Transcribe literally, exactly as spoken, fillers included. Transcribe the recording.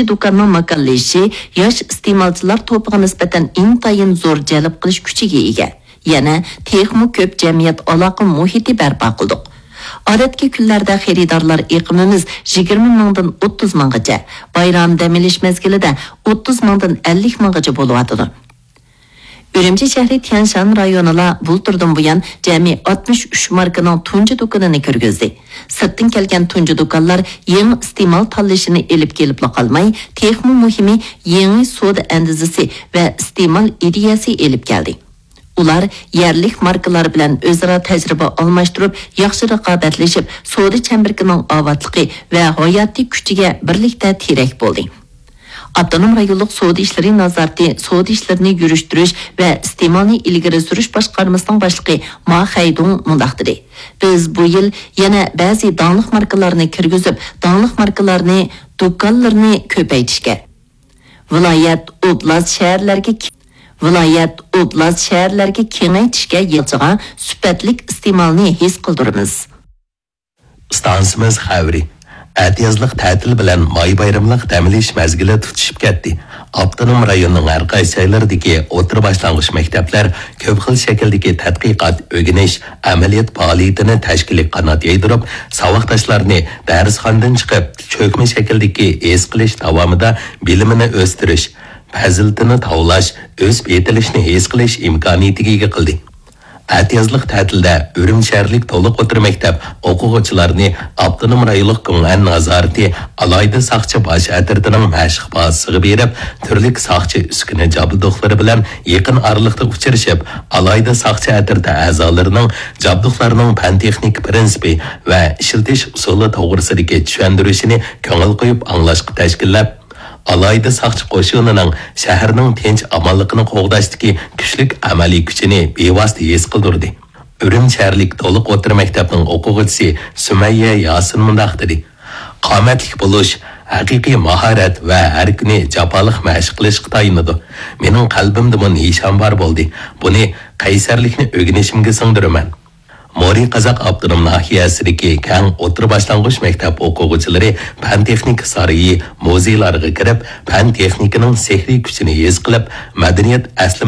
دۇكاننىڭ ماكانلىشىشى ياش ئىستېمالچىلار توپىغا نىسبەتەن ئىنتايىن زور جەلپ قىلىش كۈچىگە ئىگە. يەنە تېخىمۇ كۆپ جەمئىيەت ئالاقە مۇھىتى بەرپا قىلدۇق. ئادەتتىكى كۈنلەردە خېرىدارلار ئېقىمىمىز يىگىرمە مىڭدىن ئوتتۇز مىڭغىچە، بايرام دەم ئېلىش مەزگىلىدە ئوتتۇز مىڭدىن ئەللىك مىڭغىچە بولۇۋاتىدۇ. ئۈرۈمچى شەھىرى تيەنشان رايونىلا بۇلتۇردىن بۇيان جەمئىي ئاتمىش ئۈچ ماركىنىڭ تۇنجى دۇكىنىنى كىرگۈزدى. سىرتتىن كەلگەن تۇنجى دۇكانلار يېڭى ئىستېمال تاللىشىنى ئېلىپ كېلىپلا قالماي، تېخىمۇ مۇھىمى، يېڭى سودا ئەندىزىسى ۋە ئىستېمال ئىدىيەسى ئېلىپ كەلدى. ئۇلار يەرلىك ماركىلار بىلەن ئۆزئارا تەجرىبە ئالماشتۇرۇپ، ياخشى رىقابەتلىشىپ، سودا چەمبىرىكىنىڭ ئاۋاتلىقى ۋە ھاياتىي كۈچىگە بىرلىكتە تىرەك بولدى. ئاپتونوم رايونلۇق سودا ئىشلىرى نازارىتى سودا ئىشلىرىنى يۈرۈشتۈرۈش ۋە ئىستېمالنى ئىلگىرى سۈرۈش باشقارمىسىنىڭ باشلىقى ما خەيدۇڭ مۇنداق دېدى: بىز بۇ يىل يەنە بەزى داڭلىق ماركىلارنى كىرگۈزۈپ، داڭلىق ماركىلارنى، دۇكانلىرىنى كۆپەيتىشكە، ۋىلايەت، ئوبلاست، شەھەرلەرگە، ۋىلايەت، ئوبلاست، شەھەرلەرگە كېڭەيتىشكە يىلچىغا سۈپەتلىك ئىستېمالنى ھېس قىلدۇرىمىز. ئىستانسىمىز خەۋىرى. ئەتىيازلىق تەتىل بىلەن ماي بايرىملىق دەم ئېلىش مەزگىلى تۇتىشىپ كەتتى. ئاپتونوم رايوننىڭ ھەر قايسى جايلىرىدىكى ئوتتۇرا باشلانغۇچ مەكتەپلەر كۆپ خىل شەكىلدىكى تەتقىقات، ئۆگىنىش، ئەمەلىيەت پائالىيىتىنى تەشكىلىي قانات يايدۇرۇپ، ساۋاقداشلارنى دەرسخانىدىن چىقىپ، چۆكمە شەكىلدىكى ھېس قىلىش داۋامىدا بىلىمىنى ئۆستۈرۈش، پەزىلىتىنى تاۋلاش، ئۆسۈپ يېتىلىشنى ھېس قىلىش ئىمكانىيىتىگە ئىگە قىلدى. ئەتىيازلىق تەتىلدە ئۈرۈمچى شەھەرلىك تولۇق ئوتتۇرا مەكتەپ ئوقۇغۇچىلارنى ئاپتونوم رايونلۇق گۇڭئەن نازارىتى ئالاھىدە ساقچى باش ئەترىتىنىڭ مەشىق بازىسىغا بېرىپ، تۈرلۈك ساقچى ئۈسكۈنە جابدۇقلىرى بىلەن يېقىن ئارىلىقتا ئۇچرىشىپ، ئالاھىدە ساقچى ئەترىتى ئەزالىرىنىڭ جابدۇقلارنىڭ پەن-تېخنىكا پىرىنسىپى ۋە ئىشلىتىش ئۇسۇلى توغرىسىدىكى چۈشەندۈرۈشىنى كۆڭۈل قويۇپ ئاڭلاشقا تەشكىللەپ، ئالاھىدە ساقچى قوشۇنىنىڭ شەھەرنىڭ تىنچ-ئامانلىقىنى قوغداشتىكى كۈچلۈك ئەمەلىي كۈچىنى بىۋاسىتە ھېس قىلدۇردى. ئۈرۈمچى شەھەرلىك تولۇق ئوتتۇرا مەكتەپنىڭ ئوقۇغۇچىسى سۈمەييە ياسىن مۇنداق دېدى: قامەتلىك بولۇش ھەقىقىي ماھارەت ۋە ھەر كۈنى جاپالىق مەشىق قىلىشقا تايىنىدۇ. مېنىڭ قەلبىمدىمۇ نىشان بار بولدى. بۇنى قەيسەرلىكنى ئۆگىنىشىمگە سىڭدۈرىمەن. مورى قازاق ئاپتونوم ناھىيەسىدىكى كەڭ ئوتتۇرا باشلانغۇچ مەكتەپ ئوقۇغۇچىلىرى پەن-تېخنىكا سارىيى، مۇزېيلارغا كىرىپ، پەن-تېخنىكىنىڭ سېھرىي كۈچىنى ھېس قىلىپ، مەدەنىيەت ئەسلىمە